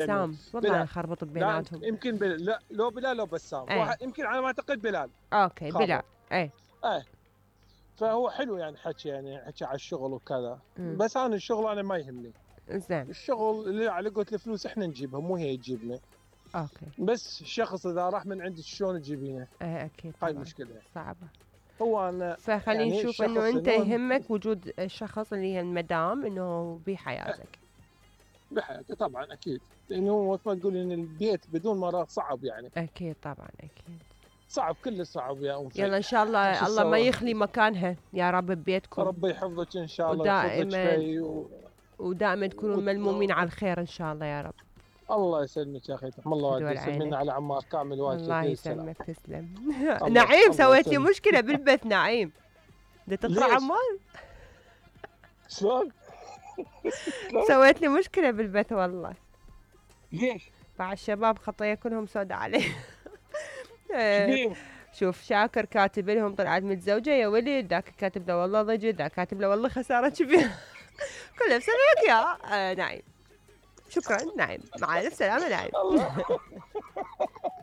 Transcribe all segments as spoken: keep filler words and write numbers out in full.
بسام والله بلال يخربط لا بيناتهم. يمكن بل... لا لو بلال لو بسام ايه واحد يمكن على ما اعتقد بلال اوكي بلال خابط. ايه ايه فهو حلو يعني حكي يعني حكي على الشغل وكذا. امم بس انا الشغل انا ما يهمني. زين الشغل اللي على قولة الفلوس احنا نجيبها مو هي تجيبنا. اوكي بس الشخص اذا راح من عندك شلون تجيبينه؟ ايه اكيد هاي طبعا المشكله. صعبة. هو انا فخلينا يعني نشوف انه الشخص انت انه يهمك وجود الشخص اللي هي المدام انه إيه، بحياتك. بحياته طبعا اكيد. لانه هو مثل ما تقول ان البيت بدون مراه صعب يعني. اكيد طبعا اكيد. صعب كل صعب يا ام يلا في. ان شاء شو الله الله ما تسوى؟ يخلي مكانها يا رب ببيتكم. ربي يحفظك ان شاء الله يحفظك ودائما في و... ودائما تكونوا و... ملمومين على الخير ان شاء الله يا رب. الله يسلمك يا اخي تحم الله فدول والديك سلمينا عينك. على عمار كامل والديك الله السلام. يسلمك تسلم. الله نعيم الله سويت لي يسلمك. مشكلة بالبث نعيم. بدي تقرا ليش؟ عمار. شلون؟ شلون؟ سويت لي مشكلة بالبث والله. ليش؟ مع الشباب خطية كلهم سوداء عليه. شبيه؟ شوف شاكر كاتب لهم طلعت متزوجة يا ولد، ذاك كاتب له والله ضجت، ذاك كاتب له والله خسارة كبيرة. كله بسببك يا آه نعيم. شكرا نعيم، مع الف سلامة نعيم. الله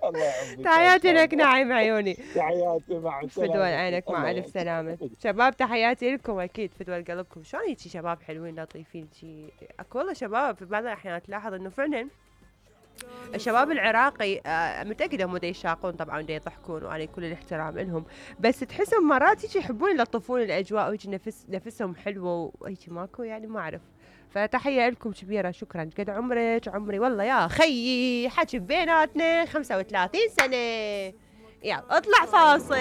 الله يعافيك. تحياتي لك نعيم عيوني. تحياتي مع السلامة. فدوى عينك مع الله الف يعافيك. سلامة. شباب تحياتي لكم اكيد فدوى قلبكم. شلون هيجي شباب حلوين لطيفين شي اكو والله شباب في بعض الاحيان تلاحظ انه فعلا الشباب العراقي آه متأكدة هم دا يشاقون طبعا دا يضحكون وعلي كل الاحترام لهم، بس تحسهم مرات هيك يحبون يلطفون الاجواء وهيك نفس نفسهم حلوة وهيك ماكو يعني ما اعرف. فتحية لكم كبيرة شكرا. قد عمرك؟ عمري والله يا خيي حكي بيناتنا خمسة وثلاثين سنة. يلا اطلع فاصل.